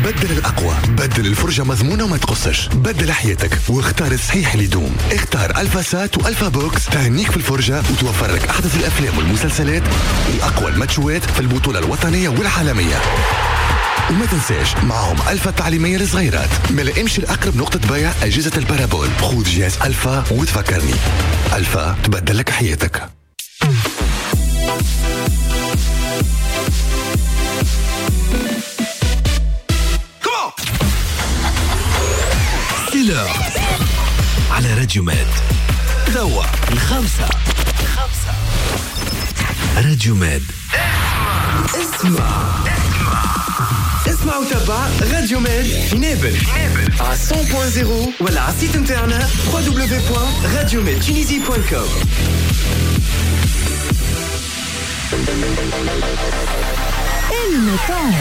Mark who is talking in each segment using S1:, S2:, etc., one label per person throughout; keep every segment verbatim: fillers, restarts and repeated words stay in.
S1: بدل الأقوى، بدل الفرجة مضمونة وما تقصش، بدل حياتك واختار الصحيح اللي يدوم. اختار ألفا سات وألفا بوكس تهنيك في الفرجة وتوفر لك أحدث الأفلام والمسلسلات وأقوى الماتشوات في البطولة الوطنية والعالمية. وما تنساش معهم ألفا التعليمية للصغيرات. ما امشي لأقرب نقطة بيع أجهزة ال parabole، خذ جهاز ألفا وتفكرني. ألفا تبدل لك حياتك.
S2: على راديو ماد توا الخمسة خمسة راديو ماد.
S3: اسمع اسمع وتابع راديو ماد في نابل على مية فاصلة صفر ولا على ال site نتاعنا دبليو دبليو دبليو دوت راديو ماد تونيزي دوت كوم.
S4: الميتون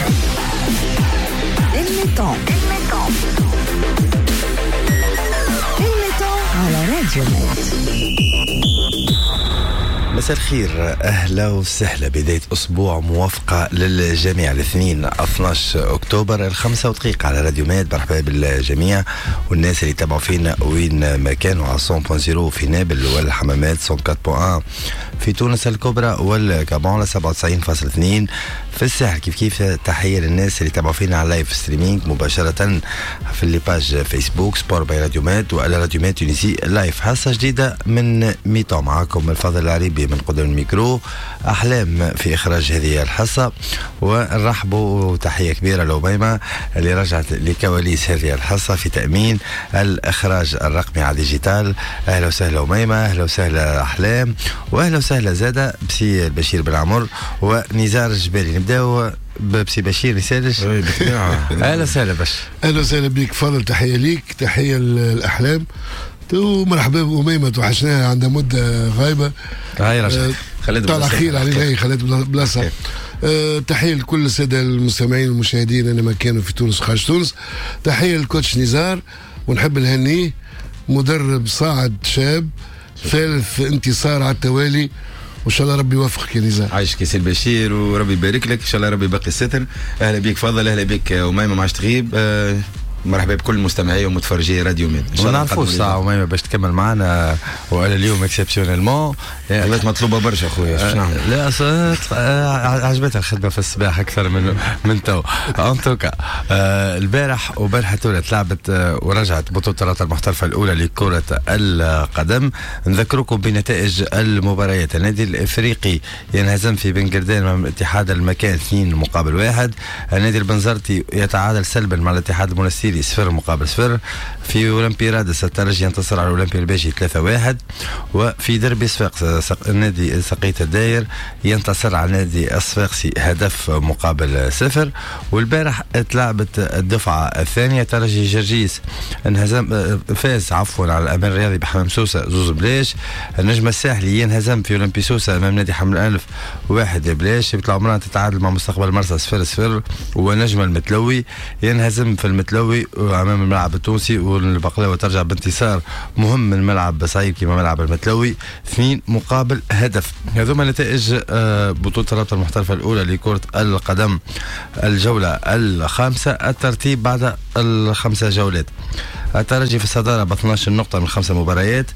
S4: الميتون الميتون على راديو ماد.
S5: مساء الخير، أهلا وسهلا. بداية أسبوع موافقة للجميع، الاثنين اثناش أكتوبر الخمسة ودقيقة على راديو ماد. مرحبا بالجميع والناس اللي تابعوا فينا وين ما كانوا على مية فاصلة صفر في نابل والحمامات، مية وأربعة فاصلة واحد في تونس الكبرى والكابون، سبعة وتسعين فاصلة اثنين في الساحل. كيف كيف تحية للناس اللي تابعوا فينا على live streaming مباشرة في les pages فيسبوك Sport by راديو ماد وعلى راديو ماد Tunisie live. حصة جديدة من mi-temps، معاكم الفاضل العريبي من قدام الميكرو، أحلام في إخراج هذه الحصة. ونرحبوا وتحية كبيرة لأميمة اللي رجعت لكواليس هذه الحصة في تأمين الإخراج الرقمي على digital. أهلا وسهلا أميمة، أهلا وسهلا أحلام، وأهلا وسهلا زادة بسي البشير بن عمر ونزار الجبالي. نبداو بسي بشير نسالش. أهلا وسهلا بش.
S6: أهلا وسهلا بك فضل، تحية ليك، تحية الأحلام، ومرحبا بأميمة، توحشناها عندها مدة غايبة.
S5: هاي رجعت،
S6: خليت طالع خير علينا، خليت بلاصة. أه تحية لكل السادة المستمعين والمشاهدين أينما كانوا في تونس وخارج تونس. تحية لل coach نزار، ونحب نهنيه، مدرب صاعد شاب، ثالث انتصار على التوالي، وان شاء الله ربي يوفقك يا نزار.
S7: عايشك يا سي البشير وربي يبارك لك، ان شاء الله ربي يبقي الستر. اهلا بيك فضل، اهلا بيك أميمة، ما عادش تغيب. أه مرحبا بكل مستمعي ومتفرجي راديو ميد.
S5: ما نعرفوش ساعة أميمة باش تكمل معنا وعلى اليوم exceptionnellement
S7: ولات مطلوبة برشا خويا. شنو نعمل؟
S5: لا عجبتها الخدمة في الصباح أكثر من من تو. en tout cas البارح وبارحة تولت لعبت ورجعت بطولة الرابطة المحترفة الأولى لكرة القدم. نذكركم بنتائج المباريات. النادي الإفريقي ينهزم في بن قردان مع اتحاد المكان اثنين مقابل واحد. النادي البنزرتي يتعادل سلبا مع الاتحاد المونستيري صفر مقابل صفر. في أولمبي رادس الترجي ينتصر على الأولمبي الباجي ثلاثة واحد. وفي دربي صفاقس النادي سقية الداير ينتصر على النادي الصفاقسي هدف مقابل صفر. والبارح تلعبت الدفعة الثانية، ترجي جرجيس انهزم فاز عفوا على الأمل الرياضي بحمام سوسة زوز بلاش. النجم الساحلي ينهزم في أولمبي سوسة أمام نادي حمل الأنف واحد بلاش. بيطلع عمران تتعادل مع مستقبل مرسى صفر صفر. ونجم المتلوي ينهزم في المتلوي امام الملعب التونسي، والبقلاوه ترجع بانتصار مهم من ملعب صعيب كما ملعب المتلوي اثنين مقابل هدف. هذوما نتائج بطوله الرابطة المحترفه الاولى لكرة القدم الجولة الخامسة. الترتيب بعد الخمسة جولات: الترجي في الصدارة ب اثناش نقطة من خمسة مباريات.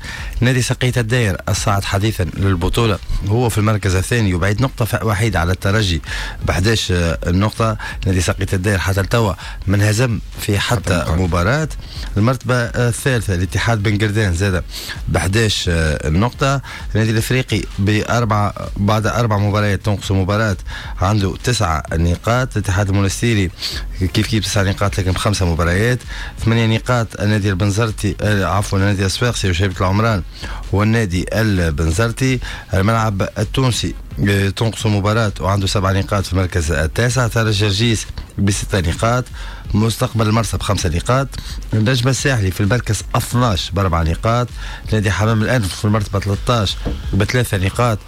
S5: نادي سقية الداير الصاعد حديثا للبطولة هو في المركز الثاني وبعيد نقطة وحيدة على الترجي ب إحدى عشرة نقطة. نادي سقية الداير حتى التوا من هزم في حتى مباراة. المرتبة الثالثة الاتحاد بن قردان زاد ب إحدى عشرة نقطة. النادي الافريقي بأربع بعد أربع مباريات تنقص مباراة عنده تسعة نقاط. الاتحاد المونستيري كيف كيف تسعة نقاط لكن بخمسة مباريات. ثمانية نقاط النادي البنزرتي عفوا النادي الصفاقسي وشبيبة العمران والنادي البنزرتي. الملعب التونسي تنقص مباراة وعنده سبع نقاط في المركز التاسع. ترجي جرجيس بستة نقاط. مستقبل المرسى بخمسة نقاط. النجم الساحلي في المركز اثناش بأربع نقاط. نادي حمام الأنف في المرتبة ثلاثة عشر بثلاثة نقاط،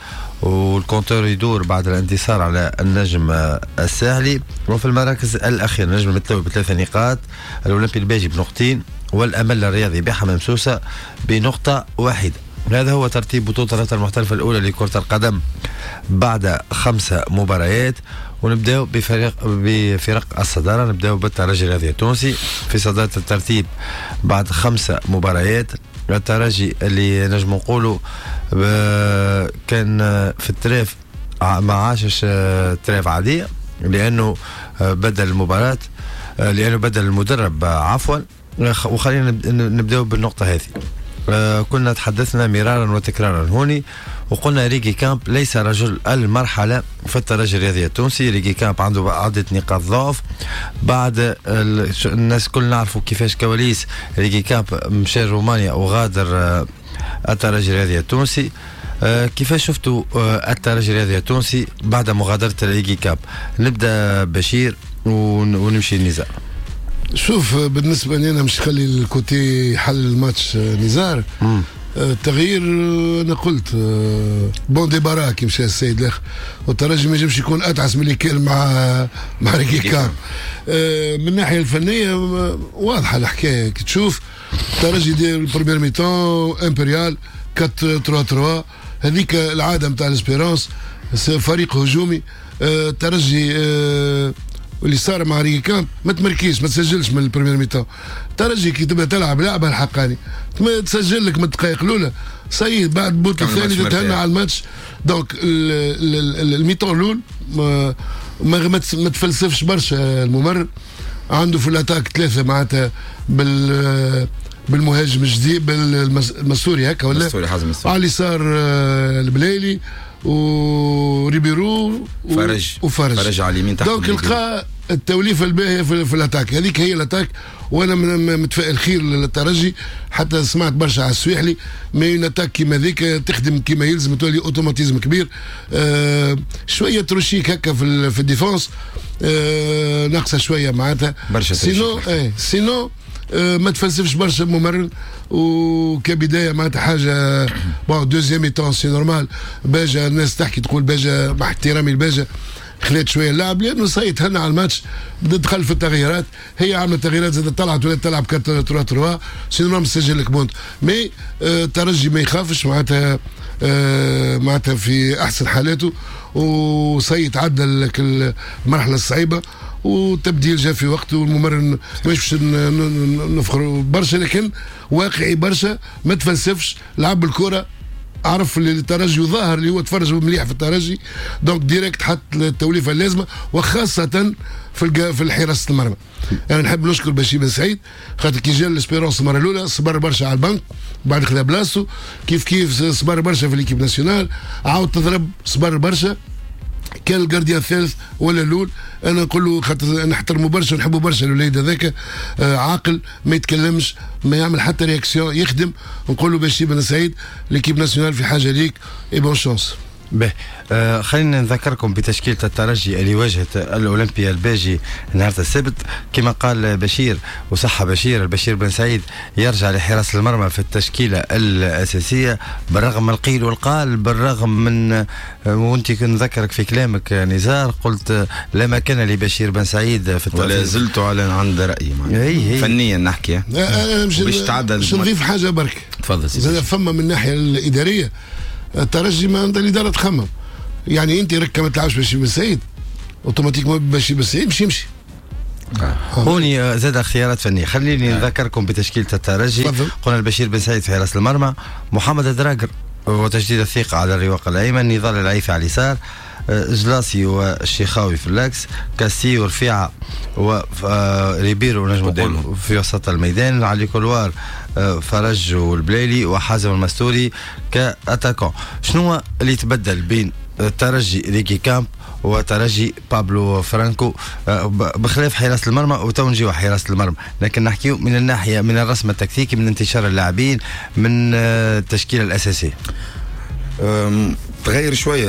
S5: وال compteur يدور بعد الانتصار على النجم الساحلي. وفي المراكز الأخيرة النجم المتلوي بثلاثة نقاط، الأولمبي الباجي بنقطتين، والأمل الرياضي بحمام سوسة بنقطة واحدة. هذا هو ترتيب بطولة الرابطة المحترفة الأولى لكرة القدم بعد خمسة مباريات. ونبداو بفريق بفرق الصدارة. نبداو بالترجي الرياضي التونسي في صدارة الترتيب بعد خمسة مباريات. الترجي اللي نجم نقولوا كان في ال trêve ما عاشش trêve عادية، لأنه بدل المباراة، لأنه بدل المدرب عفوا. وخلينا نبداو بالنقطة هذه. كنا تحدثنا مرارا وتكرارا هوني وقلنا ريجي كامب ليس رجل المرحلة في الترجي الرياضي التونسي. ريجي كامب عنده عدة نقاط ضعف. بعد الناس كل نعرفوا كيفاش كواليس ريجي كامب مشى رومانيا وغادر الترجي الرياضي التونسي. كيفاش شفتوا الترجي الرياضي التونسي بعد مغادرة ريجي كامب؟ نبدأ بشير ونمشي لنزار.
S6: شوف، بالنسبة لي أنا مش خلي ال côté يحل الماتش نزار. التغيير أنا قلت bon débarras كي مشى السيد الآخر، والترجي ما ينجمش يكون أتعس من اللي كان مع مع ريكي كامب. من الناحية الفنية واضحة الحكاية، كي تشوف الترجي ديال ال première mi-temps impérial أربعة ثلاثة ثلاثة، هذيك العادة نتاع l'Espérance، فريق هجومي. الترجي واللي صار مع ريكي كامب ما تمركيش، ما تسجلش من ال première mi-temps. الترجي كي تبدا تلعب لعبه الحقاني ما تسجل لك من الدقائق الاولى، سيد بعد البوت الثاني تتهنى على الماتش. donc ال mi-temps الاول ما ما, ما تفلسفش برشا الممرن، عنده في l'attaque ثلاثة معناتها بال بالمهاجم الجديد بالمسوري هكا ولا
S7: المسوري، حازم المسوري،
S6: على اليسار البلايلي وريبيرو
S7: فرج
S6: وفرج
S7: فرج على اليمين تحت.
S6: donc لقى التوليفه الباهيه في, في l'attaque، هذيك هي l'attaque. وانا متفائل خير للترجي، حتى سمعت برشا على السويحلي، mais une attaque كيما ذيك تخدم كيما يلزم تولي automatisme كبير. آه شوية تروشيك هكا في في ال défense، آه ناقصه شوية معناتها
S7: برشا.
S6: sinon ايه sinon آه ما تفلسفش برشا الممرن، وكبدايه معناتها حاجة bon. deuxième mi-temps c'est normal، باجا الناس تحكي تقول باجا، مع احترامي الباجا خلات شوية اللعب لانه ça y est تهنى على الماتش، دخل في التغييرات، هي عملت تغييرات زادت طلعت ولات تلعب أربعة ثلاثة ثلاثة، c'est normal سجل لك but. mais الترجي ما يخافش معناتها، آه معناتها في احسن حالاته، و ça y est عدى المرحلة الصعيبه، وتبديل جاء في وقته، والممرن مش باش نفخروا برشا لكن واقعي برشا، ما تفلسفش، لعب الكره، عرف اللي الترجي وظاهر اللي هو تفرج مليح في الترجي، donc direct حط التوليفه اللازمة، وخاصة في في حراسة المرمى. انا نحب نشكر بشير بن سعيد خاطر كي جا l'Espérance المرة الاولى صبر برشا على البنك، بعد خذا بلاصتو، كيف كيف صبر برشا في l'équipe nationale، عاود تضرب صبر برشا، كان ال gardien الثالث ولا الاول. انا نقول له خاطر نحترمه برشا ونحبه برشا الوليد هذاك، آه عاقل، ما يتكلمش، ما يعمل حتى réaction، يخدم. نقول له بشير بن سعيد l'équipe nationale في حاجة ليك، et bonne chance.
S5: به آه خلينا نذكركم بتشكيلة الترجي اللي واجهت الأولمبي الباجي نهار السبت. كما قال بشير وصح بشير، البشير بن سعيد يرجع لحراسة المرمى في التشكيلة الأساسية بالرغم من القيل والقال، بالرغم من آه وانت نذكرك في كلامك نزار قلت لا مكان لبشير بن سعيد في الترجي،
S7: ولا زلت على عند رأيي
S5: هي
S7: فنيا نحكي.
S6: باش تعدل باش نضيف حاجة برك.
S7: تفضل سيدي.
S6: فما من الناحية الإدارية الترجي ما عند الادارة تخمم، يعني انت ركه ما تلعبش بشير بن سعيد automatiquement بشير بن سعيد باش يمشي.
S5: هوني زاد اختيارات فنية. خليني نذكركم بتشكيله الترجي. قلنا البشير بن سعيد في حراسة المرمى، محمد دراجر وتجديد الثقة على الرواق الايمن، نضال العيفي على اليسار، جلاسي والشيخاوي في l'axe، كاسي ورفيعه وريبيرو نجم نقول في وسط الميدان، على couloir فرج والبليلي وحازم المستوري ك attaquant. شنو اللي تبدل بين ترجي ريكي كامب وترجي بابلو فرانكو بخلاف حراسة المرمى؟ وتو نجيو حراسة المرمى، لكن نحكيو من الناحية من الرسم التكتيكي، من انتشار اللاعبين، من التشكيلة الأساسية.
S7: تغير شوية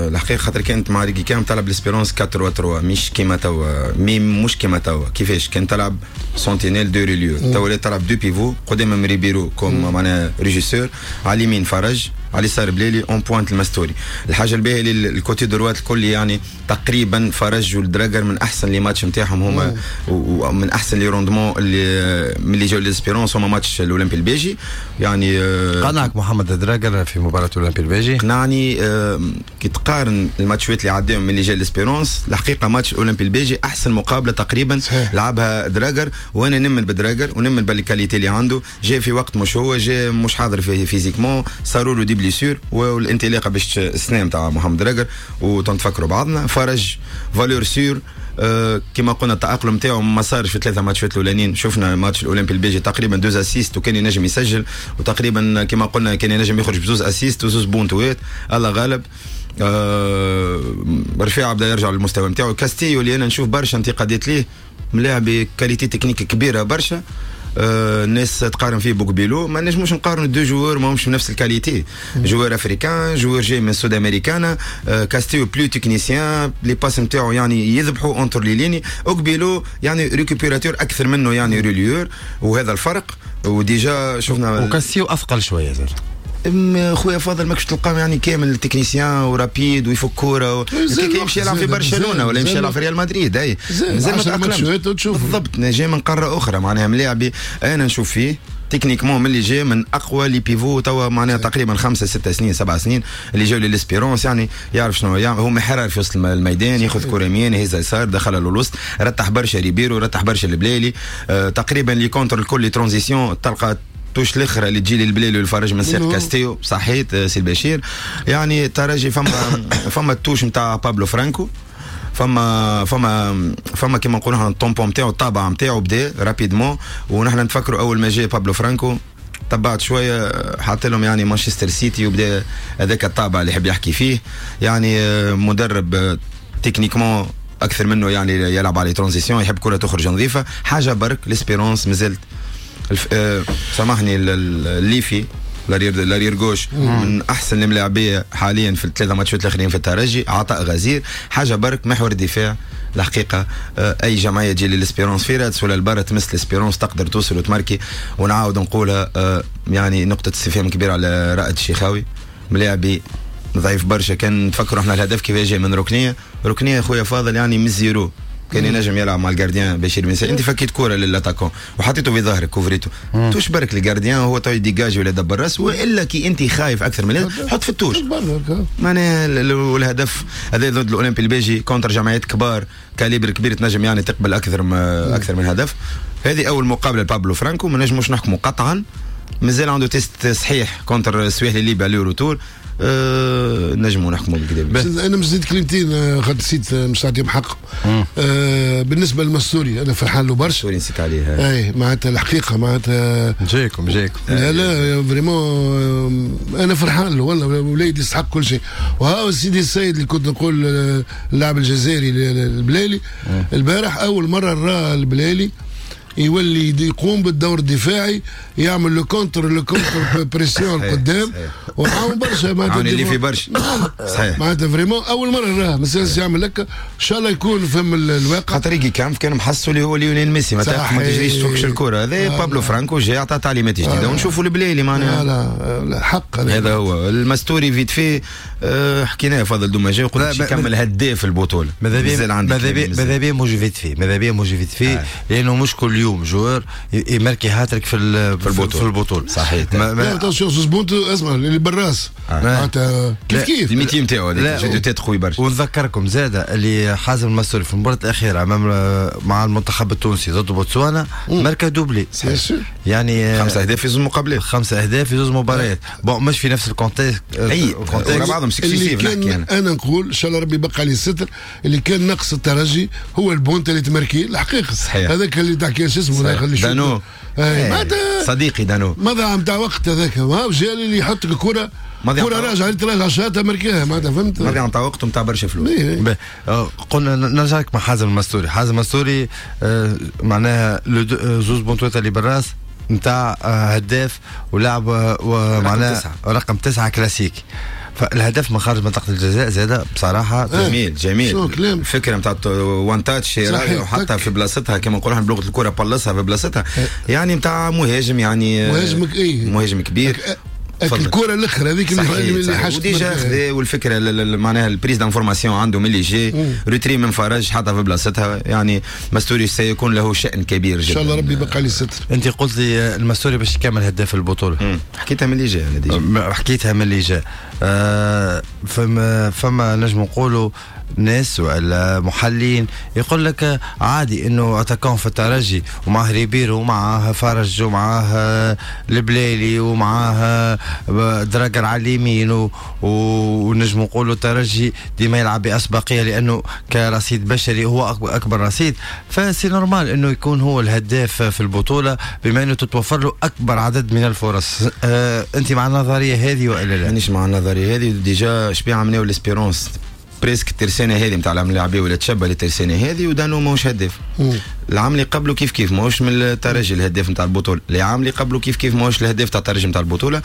S7: الحقيقة، خاطر كانت مع ريكي كامب تلعب l'Espérance أربعة ثلاثة مش كيما توا، mais مش كيما توا. كيفاش كان تلعب sentinelle deux relieurs، توا تلعب deux pivots قدامهم ريبيرو comme معناها régisseur، على اليمين فرج، على اليسار بليلي en pointe المستوري. الحاجة الباهيه اللي ال côté droit الكل يعني تقريبا فرج والدراجر من احسن les matchs نتاعهم هما، ومن احسن les rendements اللي من اللي جاو l'Espérance هما ماتش الاولمبي البيجي. يعني
S5: قنعك محمد دراجر في مباراة الاولمبي البيجي؟
S7: قنعني. كي تقارن الماتشات اللي عداهم من اللي جا l'Espérance، الحقيقة ماتش الاولمبي البيجي احسن مقابله تقريبا صحيح. لعبها دراجر، وانا نمن بدراجر ونمن بال qualité اللي عنده. جاء في وقت مش هو جاء مش حاضر في physiquement، صاروا له des blessures والانطلاقه باش السنة نتاع محمد دراجر وتنتفكروا بعضنا. فرج valeur sûre، أه كما قلنا التأقلم نتاعو ما صارش في ثلاثة ماتشات الاولانيين. شفنا ماتش الاولمبي البيجي تقريبا deux assists وكان ينجم يسجل، وتقريبا كما قلنا كان ينجم يخرج بزوز assists وزوز بونتوات. الله غالب. أه رفيع بدا يرجع للمستوى نتاعو. كاستيو اللي انا نشوف برشا انتقادات ليه، ملاعب qualité technique كبيرة برشا، آه الناس تقارن فيه بوكبيلو، ما نجموش نقارنوا deux joueurs ماهمش نفس ال qualité. joueur africain، joueur جاي من سودامريكانا. آه كاستيو plus technicien، les passes نتاعو يعني يذبحوا entre les lignes. اوكبيلو يعني récupérateur اكثر منه يعني relayeur، وهذا الفرق. و déjà شفنا
S5: وكاستيو اثقل شوية زاد.
S7: خويا فاضل ماكش تلقاه يعني كامل technicien و rapide ويفك كورة و... يمشي يلعب في برشلونة ولا يمشي يلعب في ريال مدريد. اي
S6: مازال ما تأقلمش
S7: بالضبط، جاي من قارة اخرى معناها. ملاعبي انا نشوف فيه techniquement من اللي جاي من اقوى les pivots توا معناها تقريبا خمسة ستة سنين سبع سنين اللي جاوا لل Espérance، يعني يعرف شنو يعني. هو محرر في وسط الميدان، ياخذ كره يمين يهزها يسار، دخلها للوسط، رتح برشا ريبيرو، رتح برشا البليلي. آه تقريبا les contres الكل les transitions تلقى touche الاخرى اللي تجي للبليلي والفرج من سير كاستيو. صحيت سي البشير. يعني الترجي فما فما ال touche نتاع بابلو فرانكو، فما فما فما كيما نقولوا احنا ال tampon نتاعو، الطابع نتاعو بدا rapidement. ونحن نتفكروا اول ما جاء بابلو فرانكو تبعت شوية حط لهم يعني مانشستر سيتي، وبدا هذاك الطابع اللي يحب يحكي فيه. يعني مدرب techniquement اكثر منه، يعني يلعب على transitions، يحب كره تخرج نظيفة. حاجة برك l'Espérance مازالت الف... آه... سامحني الليفي l'arrière l'arrière gauche من احسن الملاعبيه حاليا في الثلاثة ماتشات الاخرين في الترجي، عطاء غزير. حاجة برك محور الدفاع الحقيقة. آه اي جمعية تجي لل Espérance في رادس ولا البرا تمس l'Espérance تقدر توصل وتماركي. ونعاود نقولها آه يعني نقطة استفهام كبيرة على رائد الشيخاوي، ملاعبي ضعيف برشا. كان نفكروا احنا الهدف كيف جاي من ركنيه، ركنيه خويا فاضل يعني من zéro كان ينجم يلعب مع ال gardien بشير بن سعيد. انت فكيت كورة لل attaquant وحطيته في ظهرك كوفريتو، touche برك ال gardien هو تو يديجاجي ولا يدبر راس، والا كي انت خايف اكثر من حط في ال touche معناها. والهدف هذا ضد الاولمبي البيجي contre جمعيات كبار calibre كبير تنجم يعني تقبل اكثر اكثر من هدف. هذه اول مقابله لبابلو فرانكو، ما نجموش نحكموا قطعا، مازال عنده test صحيح contre السويحلي الليبي على retour. أه نجموا نحكموا بالكدا.
S6: انا مش زيد كلمتين خاطر نسيت مش نعطيهم حق. أه بالنسبة للمستوري انا فرحان له برشا.
S7: المستوري نسيت عليه.
S6: اي معناتها الحقيقة معناتها
S5: جايكم جايكم.
S6: لا لا vraiment انا فرحان له والله، وليدي يستحق كل شيء. وها سيدي السيد اللي كنت نقول اللاعب الجزائري البلالي البارح اول مرة راه البلالي يولي يقوم بالدور الدفاعي، يعمل le contre le contre-pression قدام وعاون برشا
S7: معناتها اللي في برشا صحيح
S6: معناتها vraiment اول مرة راه مثلا يعمل لك ان شاء الله يكون فهم الواقع.
S7: خاطر كان كانوا محسوا اللي هو ليونيل ميسي ما تجريش تفكش الكره. هذا آه بابلو فرانكو جاي عطى تعليمات جديدة آه ونشوفوا البلايلي معناها.
S6: لا لا حق
S7: هذا هو المستوري vite fait. أه حكيناه فضل دوما جاي وقلت باش يكمل هداف البطولة.
S5: ماذا بيا ماذا بيا مش vite fait، ماذا بيا مش vite fait لانه مش كل يوم joueur يماركي هاتريك في في البطولة. في البطولة
S7: صحيح.
S6: لا attention زوز بونت اسمع اللي بالراس معناتها كيف كيف
S7: ال métier نتاعو هذاك jeu de tête قوي برشا.
S5: ونذكركم زاده اللي حازم المستوري في المباراة الاخيرة امام مع المنتخب التونسي ضد بوتسوانا ماركا doublé يعني
S7: خمسة اهداف في زوج مقابلات،
S5: خمسة اهداف في زوج مباريات. bon مش في نفس ال contexte
S7: اي ورا بعضهم successifs نحكي
S6: انا. انا نقول ان شاء الله ربي يبقى عليه الستر، اللي كان نقص الترجي هو البونت اللي تماركي الحقيقة هذاك اللي تحكي شو اسمه
S7: دانو ايه. صديقي دانو
S6: ماذا نتاع وقت هذاك ما جا اللي يحط الكره كره راجعه تراجع شاطه مركاها معناتها فهمت.
S7: ماذا نتاع وقت نتاع برشا فلوس.
S5: قلنا نرجع لك مع حازم المستوري. حازم المستوري آه معناها زوز بونتوات اللي بالراس نتاع هداف ولاعب ومعناها رقم تسعة كلاسيك. فالهدف من خارج منطقة الجزاء زاد بصراحة
S7: جميل جميل. الفكرة نتاع one touch وحطها في بلاصتها كما نقولوا احنا بلغه الكره بلصها في بلاصتها يعني نتاع مهاجم يعني
S6: مهاجم ايه
S7: مهاجم كبير.
S6: الكره الاخرى هذيك اللي
S7: حاجة و déjà خذا والفكرة معناها ال prise d'information عنده من اللي جاي retrait من فرج حطها في بلاصتها. يعني مستوري سيكون له شأن كبير جدا
S6: ان شاء الله، ربي يبقى لي الستر.
S5: انت قلت لي المستوري باش يكمل هداف البطولة.
S7: حكيتها من اللي جا انا déjà،
S5: حكيتها من اللي جا. آه فما فما نجم نقولوا ناس ولا محللين يقول لك عادي انه attaquant في الترجي ومعه ريبيرو ومعاه فرج ومعاه البليلي ومعاه دراجر على اليمين، ونجم نقولوا الترجي ديما يلعب باسبقيه لانه كرصيد بشري هو اكبر رصيد، ف c'est normal انه يكون هو الهداف في البطولة بما انه تتوفر له اكبر عدد من الفرص. أه انت مع النظرية هذه والا لا؟
S7: مانيش مع النظرية هذه. déjà شبيه عملناو l'Espérance presque الترسانه هذه نتاع الملاعبيه ولا تشبه للترسانه هذه، ودانو ماهوش هداف. العام اللي قبله كيف كيف ماهوش من الترجي الهداف نتاع البطولة، العام اللي قبله كيف كيف ماهوش الهداف تاع الترجي نتاع البطولة.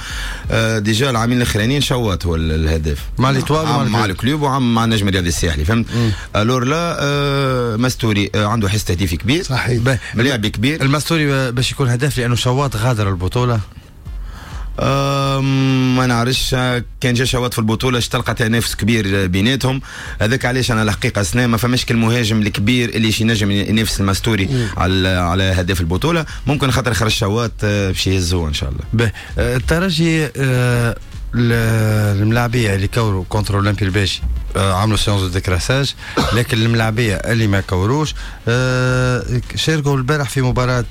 S7: آه déjà العامين الاخرانيين شوات هو الهداف
S5: مع l'Étoile
S7: مع ال Club وعام مع النجم الرياضي الساحلي، فهمت؟ alors là آه مستوري آه عنده حس تهديفي كبير،
S6: صحيح،
S7: ملاعب كبير.
S5: المستوري باش يكون هداف لانه شوات غادر البطولة.
S7: ما نعرفش كان جا شوات في البطولة تلقى تنافس كبير بيناتهم. هذاك علاش انا الحقيقة السنة ما فماش المهاجم الكبير اللي شي نجم ينافس المستوري على على هداف البطولة. ممكن خاطر خرج شوات باش يهزوه ان شاء الله.
S5: الترجي الملاعبيه اللي كوروا contre اولمبي الباجي عملوا séance de décrassage، لكن الملاعبيه اللي ما كوروش شاركوا البارح في مباراة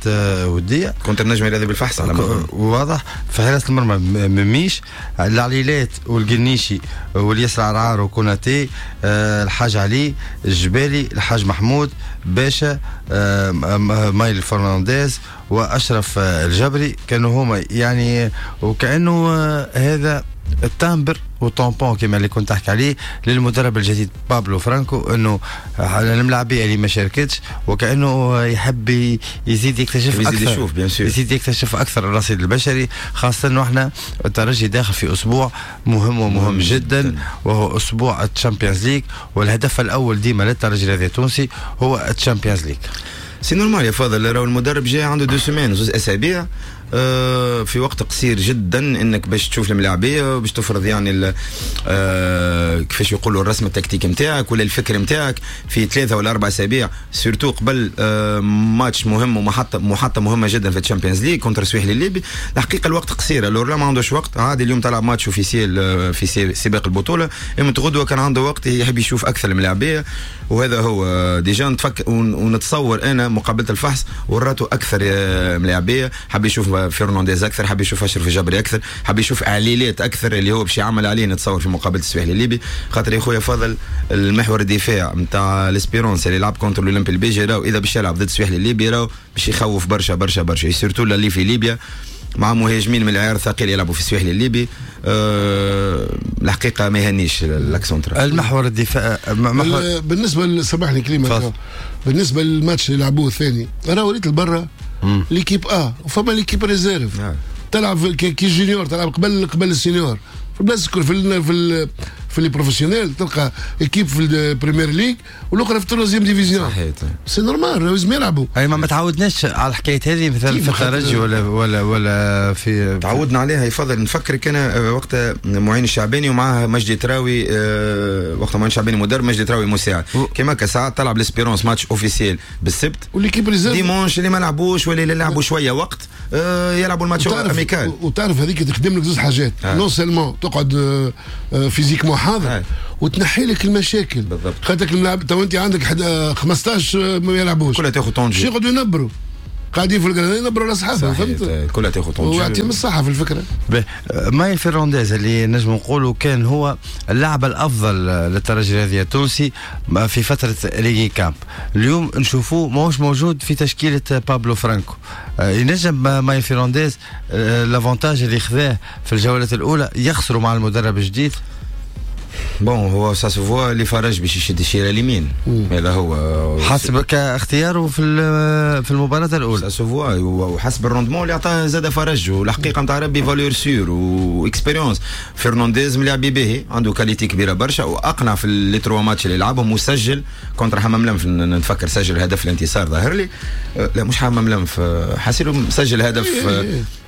S5: وديه
S7: contre النجم الرياضي بالفحص على
S5: واضح. في حراسة المرمى مميش، العليلات والقنيشي واليسر عرعار وكوناتي، الحاج علي الجبالي، الحاج محمود باشا، مايل فرنانديز واشرف الجبري، كانوا هما يعني وكانه هذا ال timbre و tampon كما اللي كنت تحكي عليه للمدرب الجديد بابلو فرانكو، انه الملاعبيه اللي ما شاركتش وكانه يحب يزيد يكتشف اكثر،
S7: يزيد يشوف bien sûr،
S5: يزيد يكتشف اكثر الرصيد البشري، خاصة انه احنا الترجي داخل في اسبوع مهم ومهم جدا, جداً وهو اسبوع ال Champions League، والهدف الاول ديما للترجي الرياضي التونسي هو ال Champions League.
S7: c'est normal يا فاضل، راهو المدرب جاي عنده deux semaines، زوز اسابيع، آه في وقت قصير جدا انك باش تشوف الملاعبيه وباش تفرض يعني آه كيفاش يقولوا الرسم التكتيكي نتاعك ولا الفكر نتاعك في ثلاثة ولا اربع اسابيع، surtout قبل آه ماتش مهم ومحطه محطة مهمة جدا في ال Champions League contre السويحلي الليبي. الحقيقة الوقت قصير، alors لا ما عندوش وقت عادي. اليوم تلعب match officiel في سباق البطولة، اما غدوه كان عنده وقت يحب يشوف اكثر الملاعبيه، وهذا هو déjà نتفك ونتصور انا مقابله الفحص وراته اكثر ملاعبيه، حب يشوف فرنانديز اكثر، حاب يشوف اشرف الجبري اكثر، حاب يشوف عليلات اكثر اللي هو باش يعمل عليه نتصور في مقابله السويحلي الليبي. خاطر يا خويا فاضل المحور الدفاع نتاع l'Espérance اللي لعب contre الاولمبي البيجي، راهو اذا باش يلعب ضد السويحلي الليبي راهو باش يخوف برشا برشا برشا، surtout اللي في ليبيا مع مهاجمين من العيار الثقيل يلعبوا في السويحلي الليبي. أه الحقيقة ما يهنيش l'axe central
S5: المحور الدفاع.
S6: محور بالنسبة سامحني كلمة، بالنسبة للماتش اللي لعبوه الثاني انا وريت البرة l'équipe A وفما l'équipe réserve تلعب كي junior، تلعب قبل قبل ال senior في البلاصة الكل، في في في les professionnels تلقى équipe في ال première ligue والاخرى في ال troisième division.
S7: صحيح
S6: c'est normal لازم يلعبوا.
S5: اي ما تعودناش على الحكاية هذه مثلا في الترجي ولا ولا ولا في
S7: تعودنا عليها. يفضل نفكرك انا وقت معين الشعباني ومعاه مجدي تراوي، وقت معين الشعباني مدرب مجدي تراوي مساعد، كما كساعات تلعب l'Espérance match officiel بالسبت
S6: و l'équipe réserve
S7: dimanche اللي ما لعبوش ولا اللي لعبوا شوية وقت يلعبوا الماتش amical.
S6: وتعرف هذيك تخدم لك زوج حاجات، non seulement تقعد physiquement حاضر وتنحي لك المشاكل
S7: بالضبط.
S6: خاطرك الملاعب تو انت عندك خمسطاش ما يلعبوش
S7: كلها تاخذ طونجي،
S6: يقعدوا ينبروا قاعدين في القرن ينبروا على اصحابهم، فهمت؟
S7: كلها تاخذ طونجي
S6: ويعطيهم الصحة في الفكرة.
S5: مايل فرنانديز اللي نجم نقولوا كان هو اللاعب الافضل للترجي الرياضي التونسي في فترة ريجي كامب، اليوم نشوفوه ماهوش موجود في تشكيله بابلو فرانكو. ينجم مايل فرنانديز l'avantage اللي خذاه في الجولات الاولى يخسروا مع المدرب الجديد؟
S7: bon هو ça se voit اللي فرج باش يشد الشيره اليمين، هذا هو
S5: حسب كاختياره في في المباراة الاولى
S7: ça se voit، وحسب ال rendement اللي عطاه زاد فرج، والحقيقة نتاع ربي valeur sûre و expérience. فرنانديز ملاعب باهي، عنده qualité كبيرة برشا، واقنع في les trois matchs اللي لعبهم، وسجل contre حمام لنف، نتفكر سجل هدف الانتصار ظاهر لي، لا مش حمام لنف، حاسيلو سجل هدف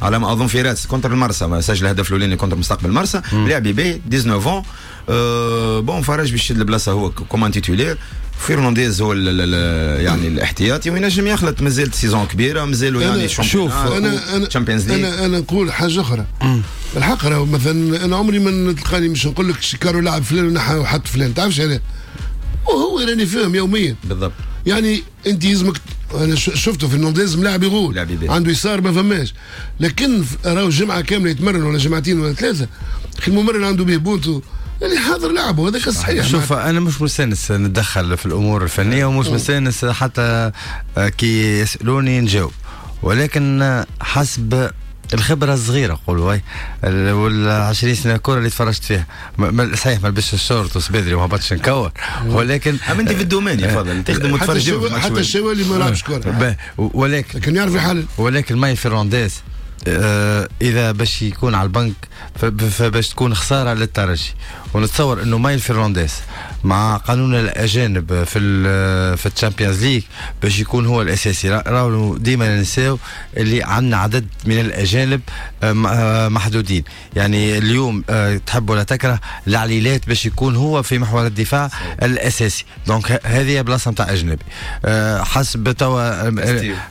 S7: على ما اظن في رادس contre المرسى، سجل هدف الاولاني contre مستقبل المرسى، لاعب باهي تسعطاش أه bon فرج باش يشد البلاصة هو comme titulaire، فيرنانديز هو ال ال يعني الاحتياطي، وينجم يخلط، مازالت saison كبيرة، مازالوا يعني
S6: شوف انا انا
S7: Champions League.
S6: انا انا نقول حاجة اخرى الحق، راهو مثلا انا عمري ما تلقاني مش نقول لك كارو لاعب فلان ونحى وحط فلان، تعرفش انا وهو راني فاهم يوميا
S7: بالضبط.
S6: يعني انت يلزمك، انا شفته في فرنانديز ملاعب يغول عنده يسار ما فماش، لكن راهو جمعه كاملة يتمرن ولا جمعتين ولا ثلاثة، الممرن عنده به بونتو اللي حاضر لعبه، هذاك الصحيح.
S5: شوف انا مش مستانس نتدخل في الامور الفنية، ومش مستانس حتى كي يسالوني نجاوب، ولكن حسب الخبرة الصغيرة نقولوا وال عشرين سنة كره اللي تفرجت فيها، صحيح ما لبسش الشورت وسبادري وما هبطش نكور، ولكن
S7: اما انت في ال domaine يا فضل تخدم وتفرج،
S6: حتى الشوالي ما لعبش كره،
S5: ولكن
S6: لكن يعرف يحلل.
S5: ولكن ماي فرنانديز آه اذا باش يكون على البنك فباش تكون خسارة للترجي، ونتصور انه مايل فرنانديز مع قانون الاجانب في في ال Champions League باش يكون هو الاساسي. راهو ديما ننساو اللي عندنا عدد من الاجانب محدودين، يعني اليوم تحب ولا تكره العليلات باش يكون هو في محور الدفاع الاساسي، donc هذه بلاصة نتاع اجنبي. حسب توا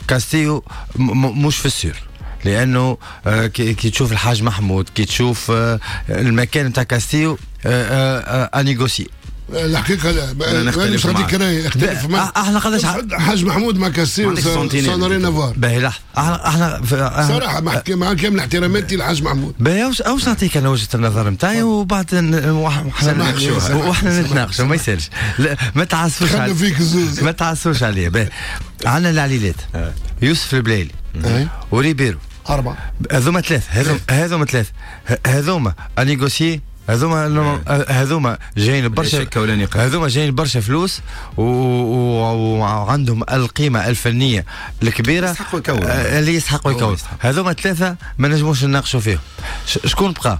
S5: كاستيو مش في ال sûr، لانه كي تشوف الحاج محمود، كي تشوف المكان نتاع كاستيو à négocier.
S6: الحقيقة لا انا مش غادي كراي اختلف مع
S5: احنا قداش
S6: حاج محمود مع كاستيو ça n'a rien à voir.
S5: باهي لحظة، احنا احنا
S6: صراحة مع مع كامل احتراماتي للحاج محمود.
S5: باهي واش نعطيك انا وجهه النظر نتاعي وبعد وحنا وحنا نتناقشوا ما يسالش، ما تعسفوش ما تعسفوش عليا. باهي عندنا العليلات يوسف البلايلي وريبيرو
S6: أربعة،
S5: هذوما ثلاثة، هذوما هذوما ثلاثة، هذوما à négocier، هذوما هذوما جايين برشا، هذوما جايين برشا فلوس وعندهم القيمة الفنية الكبيرة
S7: يستحقوا يكوروا،
S5: اللي يستحقوا يكوروا. هذوما ثلاثة ما نجموش نناقشوا فيهم. شكون بقى؟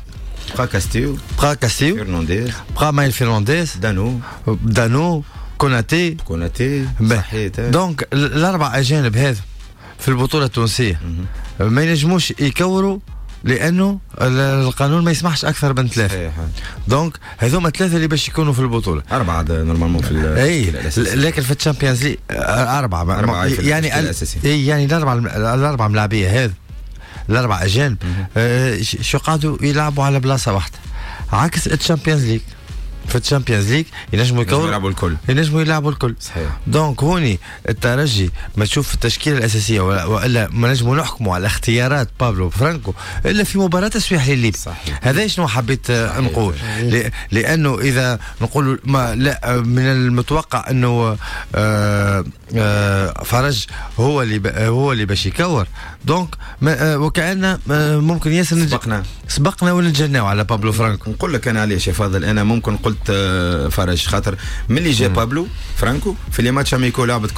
S7: بقى كاستيو،
S5: بقى كاستيو،
S7: فرنانديز،
S5: بقى مايل فرنانديز،
S7: دانو،
S5: دانو، كوناتي،
S7: كوناتي صحيح.
S5: donc الأربع أجانب هذا في البطولة التونسية ما ينجموش يكوروا لأنه القانون ما يسمحش أكثر من ثلاثة. donc هذوما ثلاثة اللي باش يكونوا في البطولة.
S7: أربعة normalement في
S5: أي، لكن في ال Champions League أربعة،
S7: أربعة
S5: يعني ال... يعني الأربعة الأربعة ملاعبية هذا الأربعة أجانب آه شو قعدوا يلعبوا على بلاصة واحدة، عكس ال Champions League. في ال Champions League ينجموا يكوروا،
S7: يلعبوا الكل،
S5: ينجموا يلعبوا الكل.
S7: صحيح.
S5: donc هوني الترجي ما تشوف التشكيلة الاساسية والا ما نجموا نحكموا على اختيارات بابلو فرانكو الا في مباراة السويح الليبي. هذا شنو حبيت نقول، لانه اذا نقول ما لا من المتوقع انه آه آه فرج هو اللي هو اللي باش يكور، donc وكأن ممكن ياسر
S7: سبقنا
S5: سبقنا ونتجناو على بابلو فرانكو.
S7: نقول لك انا علاش يا فاضل، انا ممكن قلت فرج خاطر ملي جا بابلو فرانكو في les matchs amicaux لعبت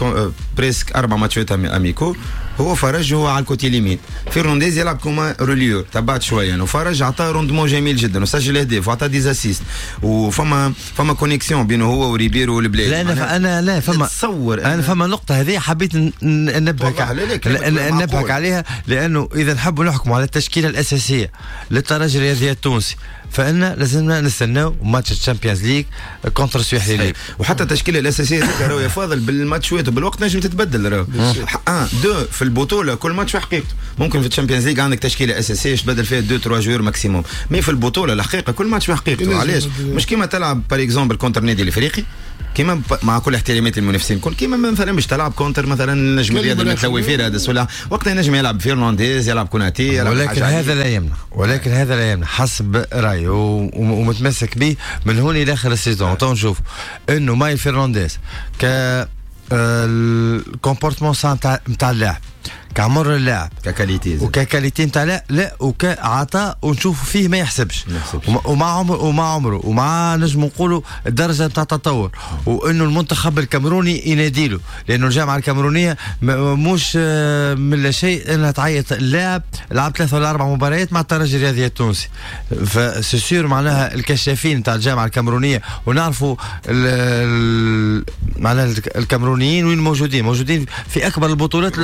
S7: presque اربع ماتشات amicaux، هو فرج هو على ال côté اليمين، فيرنانديز يلعب comme relayeur تبعت شوية، وفرج عطاه rendement جميل جدا وسجل اهداف وعطاه des assists، وفما فما connexion بينه هو وريبيرو والبلايلي.
S5: لا انا انا لا فما
S7: تصور
S5: انا فما نقطة هذه حبيت ننبهك ننبهك عليها، لانه اذا نحبوا نحكموا على التشكيلة الاساسية للترجي الرياضي التونسي فإن لازمنا نستناو ماتش ال Champions League contre السويح الليبي.
S7: وحتى التشكيلة الاساسية هذيك راهو يا فاضل بالماتشات وبالوقت نجم تتبدل راهو. un deux في البطولة كل ماتش وحقيقته، ممكن في ال Champions League عندك تشكيله اساسية تبدل فيها deux trois joueurs maximum، mais في البطولة الحقيقة كل ماتش وحقيقته. علاش؟ مش كيما تلعب par exemple contre النادي الافريقي، كيما مع كل احترامات المنافسين الكل، كيما مثلا باش تلعب contre مثلا النجم الرياضي المتلوي في رادس ولا وقتها ينجم يلعب فيرنانديز يلعب كوناتي يلعب،
S5: ولكن هذا لا يمنع، ولكن هذا لا يمنع حسب رايي ومتمسك به من هون الى اخر ال saison. تو نشوف انه مايل فرنانديز ك ال comportement نتاع نتاع اللاعب، كعمر اللاعب
S7: ك qualité
S5: وك qualité نتاع لا لا وكعطاء ونشوف فيه ما يحسبش ومع عمر ومع عمره ومع نجم نقولوا الدرجة نتاع التطور، وانه المنتخب الكاميروني يناديله، لانه الجامعة الكاميرونيه مش من لا شيء انها تعيط اللاعب لعب ثلاثة ولا اربع مباريات مع الترجي الرياضي التونسي، ف c'est sûr معناها الكشافين نتاع الجامعة الكاميرونيه، ونعرفوا معناها الكاميرونيين وين موجودين، موجودين في اكبر البطولات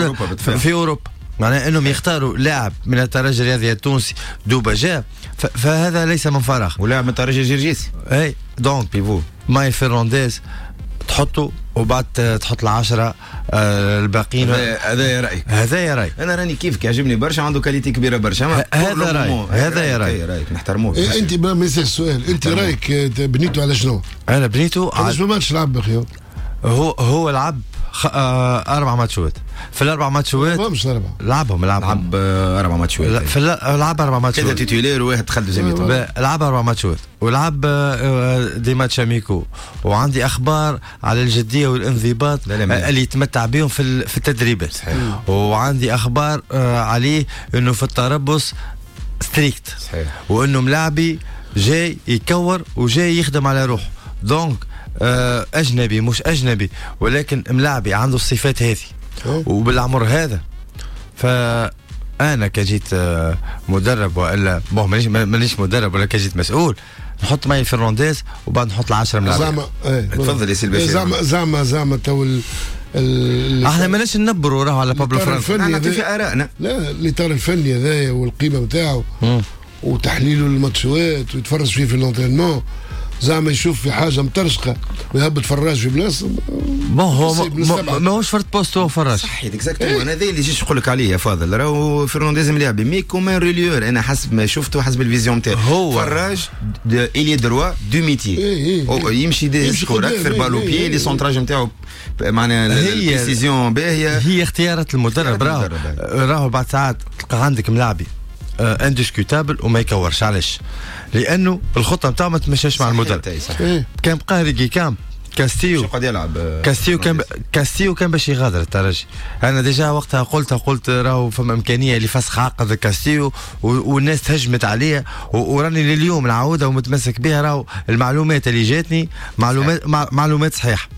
S5: في اوروبا، معناها انهم يختاروا لاعب من الترجي الرياضي التونسي دوبا جاء، فهذا ليس من فراغ،
S7: ولاعب من الترجي الجرجيسي
S5: اي donc pivot ماي فرنانديز تحطه وبعد تحط العشرة آه الباقيين.
S7: هذا رايك؟
S5: هذا رايي
S7: انا، راني كيفك يعجبني برشا، عنده qualité كبيرة برشا.
S5: هذا رايي، هذا رايي،
S7: رايك نحترموه.
S6: إيه انت ما يصير السؤال، انت رايك بنيته على شنو؟
S5: انا بنيته
S6: على شنو ماتش لعب اخي؟
S5: هو هو لعب خ... آه اربع ماتشات، في الاربع ماتشات
S6: مش اربعة
S5: لعبهم لعبهم
S7: لعب اربع ماتشات
S5: في لعب اربع ماتشات،
S7: ثلاثة titulaires وواحد دخل deuxième
S5: mi-temps، لعب اربع ماتشات ولعب des matchs amicaux، وعندي اخبار على الجدية والانضباط اللي يتمتع بهم في في التدريبات، وعندي اخبار عليه انه في التربص strict،
S7: صحيح،
S5: وانه ملاعبي جاي يكور وجاي يخدم على روحه، donc اجنبي مش اجنبي ولكن ملاعبي عنده الصفات هذه وبالعمر هذا. فانا كجيت مدرب والا bon مانيش مانيش مدرب ولا كجيت مسؤول، نحط ماي فرنانديز وبعد نحط العشرة ملاعبين.
S6: زعما
S7: تفضل يا سي البشير.
S6: زعما زعما زعما تو
S5: احنا ماناش ننبروا راهو على بابلو فرانكو،
S7: نعطي في ارائنا.
S6: لا الاطار الفني هذايا والقيمة نتاعو وتحليله للماتشات ويتفرج فيه في l'entraînement، زعما يشوف في حاجة مترشقه ويهبط فراج في بلاصة.
S5: bon هو ماهوش فرد poste هو فراج.
S7: صحيح exactement، انا هذا اللي جيت نقول لك عليه يا فاضل، راهو فرنانديز ملاعب mais comme un relayeur، انا حسب ما شفته حسب ال vision تاعي
S5: هو
S7: فراج ailier droit de métier، يمشي des score اكثر balle au pied، les centrages نتاعو معناها ال précision باهيه.
S5: هي اختيارات المدرب، راهو راهو بعد ساعات تلقى عندك ملاعبي indiscutable وما يكورش. علاش؟ لانه الخطة نتاعو ما تمشاش مع المدرب. كان بقى ريجي كامب كاستيو
S7: قاعد يلعب
S5: كاستيو كان كاستيو كان باش يغادر الترجي. انا déjà وقتها قلت قلت راهو فما امكانية لفسخ عقد كاستيو والناس تهجمت عليه، وراني لليوم نعاودها ومتمسك بها. راهو المعلومات اللي جاتني معلومات معلومات صحيحه،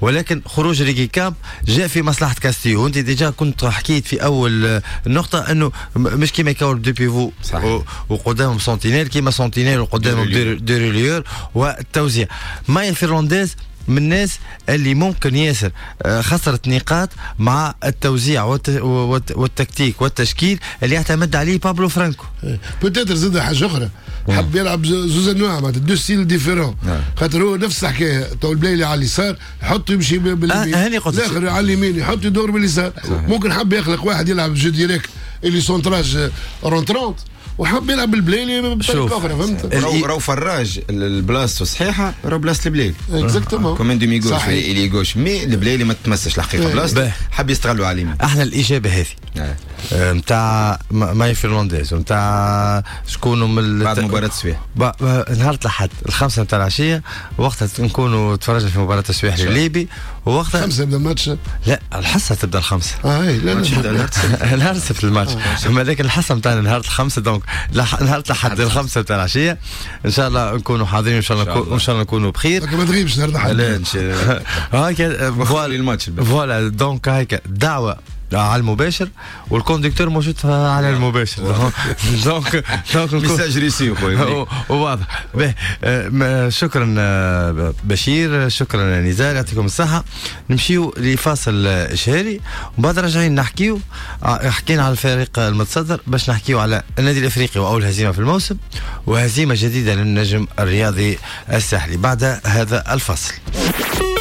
S5: ولكن خروج ريجي كامب جاء في مصلحة كاستيو. وانت déjà كنت حكيت في اول النقطة انه مش كيما يكون deux pivots وقدامهم sentinelles، كيما sentinelle وقدامهم deux relayeurs والتوزيع. مايل فرنانديز من الناس اللي ممكن ياسر خسرت نقاط مع التوزيع والتكتيك والتشكيل اللي يعتمد عليه بابلو فرانكو.
S6: peut-être زاد حاجة اخرى، حب يلعب زوز انواع معناتها deux styles différents، خاطر هو نفس الحكاية. تو البلايلي على اليسار يحط يمشي باليمين، الاخر على اليمين يحط يدور باليسار. ممكن حب يخلق واحد يلعب jeu direct اللي centrage rentrant، وحب يلعب بالبلايلي بطريقة اخرى، فهمت؟
S7: راهو فراج البلاصة صحيحه، راهو بلاصة البلايلي
S6: exactement
S7: comme un demi gauche ailier gauche، mais البلايلي ما تمسش الحقيقة بلاصته، حب يستغلوا على اليمين.
S5: احنا الاجابة هذه نتاع ماي فرنانديز ونتاع شكون من
S7: بعد مباراة السويح
S5: نهار الاحد الخمسة نتاع العشية، وقتها نكونوا تفرجنا في مباراة السويح الليبي. ووقتها
S6: خمسة يبدا الماتش؟
S5: لا الحصة تبدا الخمسة.
S6: اه لا
S7: لا
S5: نهار السبت الماتش، لكن الحصة نتاعنا نهار الخمسة، donc نهار الاحد الخمسة نتاع العشية ان شاء الله نكونوا حاضرين، وان شاء الله ان شاء الله نكونوا بخير.
S6: ما تغيبش نهار الاحد.
S7: لا
S5: هاك
S7: voilà الماتش
S5: voilà donc هاك دعوه على المباشر، وال conducteur موجود على المباشر. donc
S7: donc message reçu خويا
S5: واضح. شكرا بشير، شكرا نزار، يعطيكم الصحة. نمشيو لفاصل اشهاري وبعد راجعين نحكيو. حكينا على الفريق المتصدر باش نحكيو على النادي الافريقي واول هزيمة في الموسم وهزيمة جديدة للنجم الرياضي الساحلي بعد هذا الفصل.